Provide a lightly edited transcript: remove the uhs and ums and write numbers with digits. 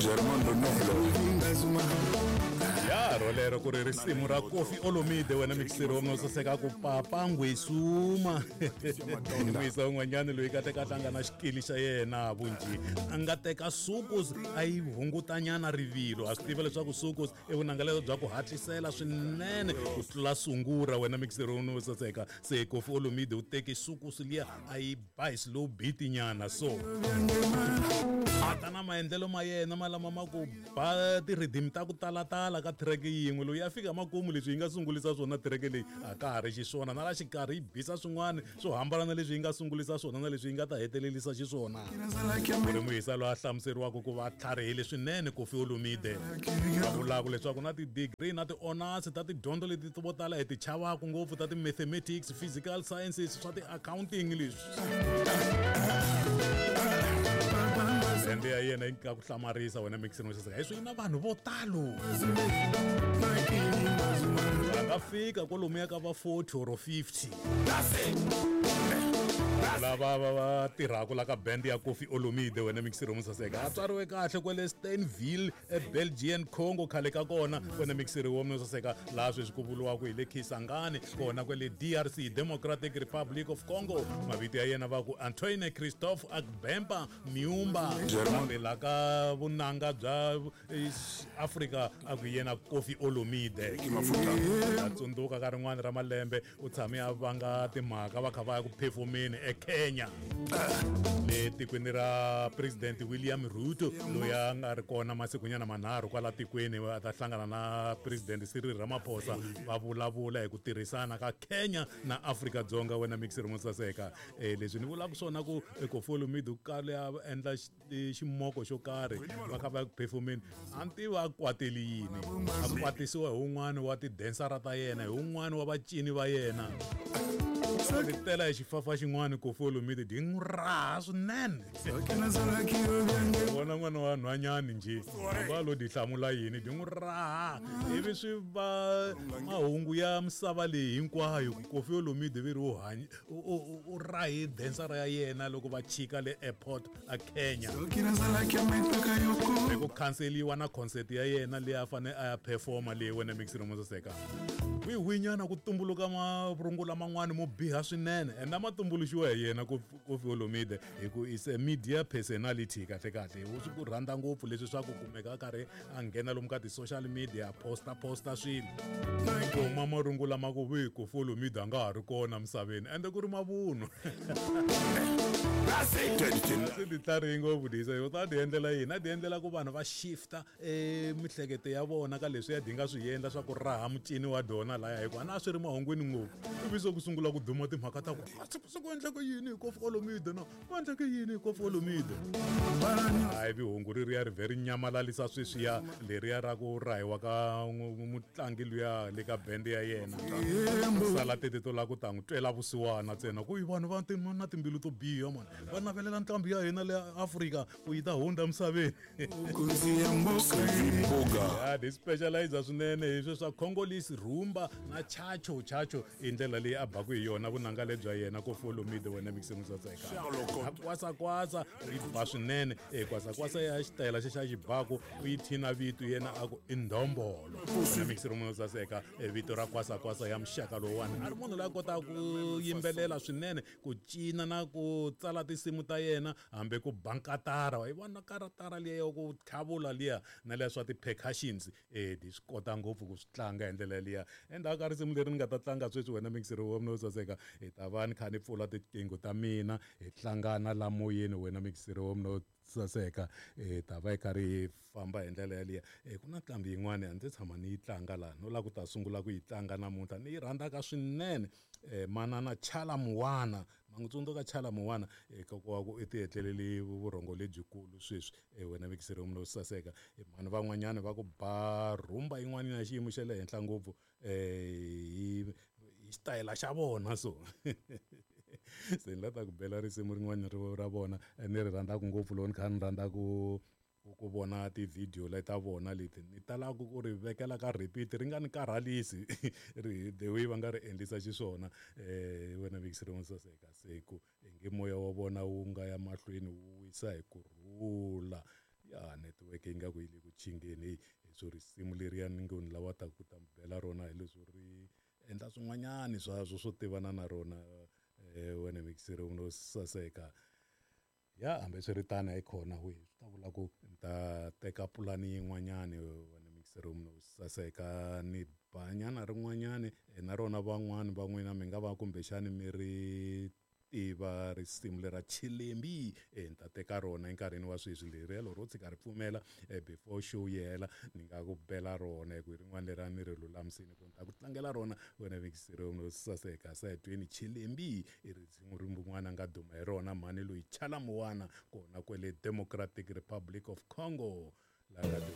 Germando Noble. Ya rolero ku ri risimu ra Koffi Olomide wena mixiri wa saseka ku papa ngwesuma muyisa un'wanyana loyi kahlekahle a nga na xikili xa yena vunji a nga teka sukus a yi hungutanyana rivilo. A swi tiva leswaku sukus i vunanga bya ku hatlisela swinene ku tlula sungura wena mixiri wa saseka. Se Koffi Olomide u teke sukus liya a yi ba hi slow beat nyana, so a ta na maendlelo ma yena ma lama ma ku ba ti-rhythm ta ku talatala ka track yin'we. Loyi a fika makumu leswi yi nga sungulisa swona track leyi a ka ha ri xiswona, na la xikarhi yi bisa swin'wana swo hambana na leswi yi nga sungulisa swona na leswi yi nga ta hetelelisa xiswona. Ku ri muyisa loyi a hlamuseriwaka ku va tlharihile swinene Koffi Olomide, va vulaka leswaku na ti-degree na ti-honors ta tidyondzo leti vo tala hi ti chavaka ngopfu ta ti-mathematics, physical sciences, swa ti-accounting leswi. Ende ya yena yi nga ku hlamarisa wena mixini wa xiseka hi swi na vanhu vo talo va nga fika kwalomuya ka va 40 or 50 lava va va tirhaka la ka band ya Koffi Olomide wena mixiri wa saseka. A tswariwe kahle kwale Stanville eBelgian Congo khale ka kona wena mixiri wa saseka, laha sweswi ku vuriwaka hi le Kisangani kona kwale DRC, Democratic Republic of Congo. Mavito ya yena va ku Antoine Christophe Agbempa Miumba, kambe la ka vunanga bya Afrika a ku yena Koffi Olomide. A tsundzuka ka rin'wana ra malembe u tshame a vanga timhaka va kha va ya ku phefomeni eKenya le tikweni ra President William Ruto, loyi a nga ri kona masikunyana manharhu kwala tikweni a ta hlangana na President Cyril Ramaphosa va vulavula hi ku tirhisana ka Kenya na Afrika-Dzonga wena mixiri mo saseka. Leswi ni vulaka swona ku Koffi Olomide u kale a endla ximoko xo karhi va kha va ya ku phefomeni, a ni tivi a kwateli yini, a kwatisiwa hi wun'wana wa tidensara ta yena, hi wun'wana wa vacini va yena. Ni tela hi xifafa xin'wana Koffi Olomide di n'wi raha swinene, vona n'wana wa nhwanyani njhe va lo di hlamula yini, di n'wi raha ivi swi va mahungu ya misava leyi hinkwayo ku Koffi Olomide vi ri u hanya u rahi densara ya yena loko va chika le airport a Kenya, hi ku khanseliwa na concert ya yena leyi a fanele a ya performa leyi wena mixiri mo saseka. Wihinyana ku tumbuluka marungula man'wani mo biha swinene ende a ma tumbuluxiwa hi yena Koffi Olomide, hi ku is a media personality. Kahle kahle u swi ku rhandza ngopfu leswi swa ku kumeka a karhi a nghena lomu ka ti-social media a posta posta swilo, kuma marungula ma ku vi Koffi Olomide a nga ha ri kona misaveni, ende ku ri mavunwa. Swi ti tlharihi ngopfu disa yo ta ti endlela yini, a ti endlela ku vanhu va shifta mihleketo ya vona ka leswi ya di nga swi endla swa ku raha mucini wa dona laya, hikuva na swi ri mahungwini ngopfu ivi se ku sungula ku duma timhaka ta ku se ku endleke yini hi Koffi Olomide, na ku endleke yini hi Koffi Olomide. Hayi, vihungu ri riya ri vhe ri nyamalalisa sweswiya leriya ra ku rahiwa ka mutlangi luya le ka bende ya yena, sala tete to lava ku ta n'wi twela vusiwana ntsena ku i vanhu va na timbilu to biha mani, va navelela nqambi ya hina le Afrika ku yi ta hundza misaveni. Ya di specialize swinene hi swe swa Congolese rumba na chacho chacho, i ndlela leyi a baku hi yona vunanga lebya yena Koffi Olomide wena mixini saseka. Kwasa kwasa yi ba swinene, e kwasa kwasa ya xitayela xa xibaku u yi thina vito yena a ku i ndombolo wena mixini mo saseka. E vito ra kwasa kwasa ya muxaka lowuwani, a ri munhu loyi a kotaka ku yimbelela swinene, ku cina na ku tsala tinsimu ta yena, hambi ku ba nkatara wa yi vona karatara liya ya ku tlhavula liya na liya swa ti-percussions, di swi kota ngopfu ku swi tlanga hi ndlela liya. Endzhaku ka risimu leri ni nga ta tlanga sweswi wena mixiri wa mina wo saseka, hi ta va ni kha ni pfula tiqingho ta mina hi hlangana la moyeni wena mixiri wa mina wo saseka, hi ta va hi karhi hi famba hi ndlela yaliya. Ku na nqambi yin'wani a ndzi tshama ni yi tlanga laha, no lava ku ta sungula ku yi tlanga namuntlha, ni yi rhandzaka swinene, manana Chala Muwana. Ma n'wi tsundzuka Chala Muwana? Kokwa wa ku i ti etlelele vurhongo lebyikulu sweswi, wena mixiri wa mina wo saseka. Mhani van'wanyana va ku ba rhumba yin'wana ya xiyimo xa le henhla ngopfu hi xitayela xa vona, so se ni la ta ku bela risimu rin'wana ra vona ni ri rhandzaka ngopfu, loko ni kha ni rhandza ku ku vona ti-video leta vona leti ni talaka ku ri vekela ka repeat ri nga ni karhalisi ri the way va nga ri endlisa xiswona. Wena mixiri wo saseka, se ku i nge moya wa vona wu nga ya mahlweni wu wisa hi ku rhula. Ya netiweke yi nga ku yi le ku chingeni, heyi leswo risimu leriya ni ngo ni lava ta ku ta mi bela rona hi leswo ri endla swin'wanyani swaswo swo tivana na rona. Wena mixere no saseka ya hambiswiritano hi khona we swi ta vula ku ni ta teka pulani yin'wanyani. Wena mixere no saseka, ni banyana rin'wanyani na rona van'wani va n'wina mi nga va kumbexani mi ri tiva risimu lera Chilembi. Ni ta teka rona enkarhini wa sweswi leriya loko ro tshika ri pfumela before show yi hela, ni nga ku bela rona hi ku hi rin'wana leri a ni ri lulamisini ku ni ta ku tlangela rona. Wena mixere no saseka, sa hi tweni Chilembi, i risimu rin'wana a nga duma hi rona mhani loyi Chalamuwana kona kwele Democratic Republic of Congo la nga duma.